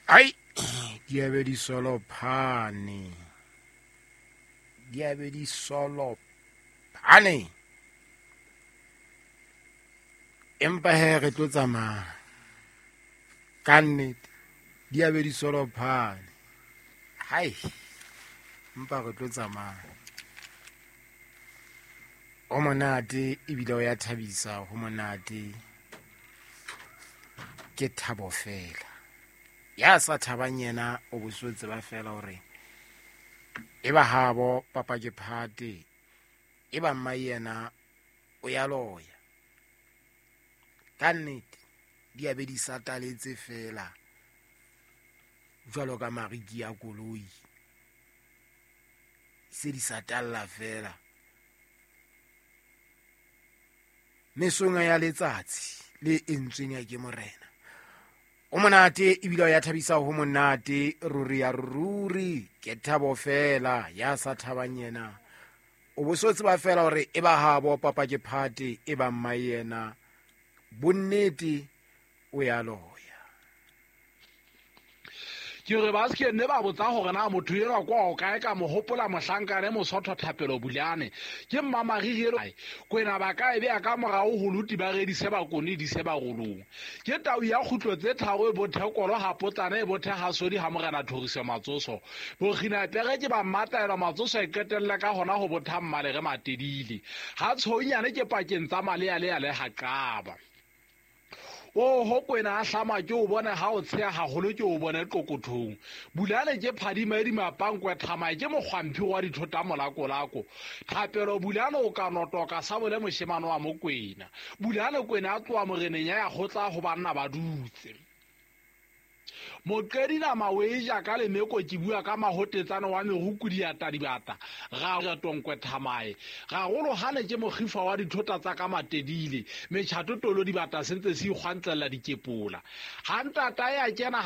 Ai, di a be di solophane, di a be di solophane. Empa he re tlo tsamaya ka nnete, di a be di solophane. Hai, empa re tlo tsamaya. O monate ebile o ya thabisa, ho monate ke thabo fela. Ya sa thabang yena o bo so tseba fela hore e ba habo papa ke phate, e ba mma yena o ya loya. Ka nnete di a be di sataletse fela jwalo ka mariki a koloi, se di satalla fela. Mesong ya letsatsi le entsweng ya ke morena. O monate ebile o ya thabisa, ho monate ruri ya ruri ke thabo fela. Ya sa thabang yena o bo so tseba fela hore e ba habo papa ke phate, e ba mma yena bonnete o ya loya. Ke re ba se ne ba botsa hore na motho enwa kwa o kae, ka mo hopola mohlankane Mosotho Thapelo Bulane ke mmamariri elo kwena ba ka e beya ka morao ho luti ba redise ba kone di se ba rolong. Ke tau ya kgutlo tse tharo e bothe kolo ha potsana e bothe ha sodi ha morena Thoriso Matsoso. Bokgina pere ke ba mmataelo Matsoso e qetelle ka hona ho botha mmalere matedile. Ha tshounyane ke pakeng tsa malea le ya le ha qaba. Oho kwena a hlama ke o bone ha o tsheha haholo ke o bone qokothong. Bulane ke phadima e dimapankwe thamae ke mokgwamphi wa dithota molakolako. Thapelo Bulane o ka notoka sabole moshemane wa mokwena. Bulane kwena a tloha moreneng ya ya kgotla ho banna ba dutse. Moqedi nama o e ja ka lemeko ke bua ka mahotetsane wa merukudi ya tadibata. Ga re tonkwe thamae. Gagolo hane ke mokgifa wa dithota tsa ka matedile. Metjhato tolo dibata sentse se ikgwantlella dikepola. Ha ntata ya kena ha